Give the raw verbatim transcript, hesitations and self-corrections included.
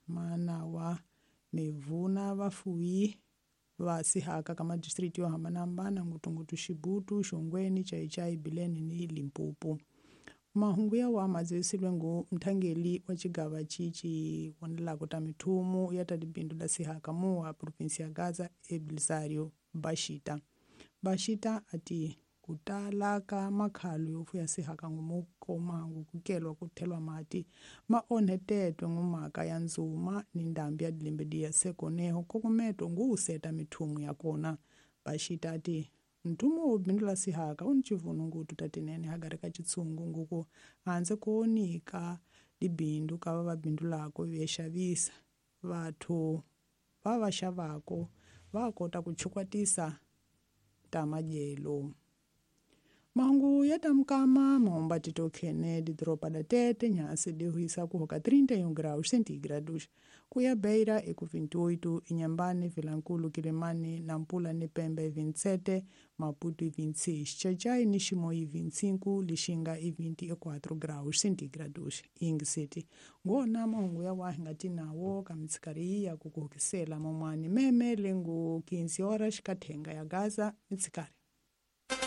Manawa mivuna vafuwi va sihaka ka madistriti yo hambanahambana ngopfungopfu Xibutu, Xongweni, Chaichai, Bilene ni Limpopo. Mahungu ya wa madzivisilwe ngu mthangeli wa xigava cici vonelako ta mithumu ya ta tibindu la sihaka muwa provinsi ya Gaza Ebelisario Bashita. Bashita ati ku tala ka makhalo yo fuya sihaka ngumu komangu kukelwa ku thelwa mati ma onhetetwe ngumhaka ya ndzuma ni ndhambi ya dilembe diya sekoneho nkokometo ngu seta mithumu ya kona. Bashita ati nthumu wo bindula sihaka u ni civunungutu ta tinene hagari ka xitshungu nguku handle ko nyika tibindu ka va va bindulako ve xavisa vathu va va xavako va kota ku chukwatisa ta madyelo. Mahungu ya ta mukama mahomba tito khene didoropa da Tete nhansi di huisa kuhoka trinta e um graus centígrados kuya Beira eku vinte e oito, Inhambane, Vilankulo, Quilimane, Nampula ni Pemba e vinte e sete, Maputo e vinte e seis, Xai-Xai ni Chimoio e vinte e cinco, Lixinga e vinte e quatro graus centígrados. Ingiseti ngona mahungu ya wahi nga ti nawo ka mitsikari ya ku kuhukisela momwani meme lengu quinze horas kathenga ya Gaza mitsikari.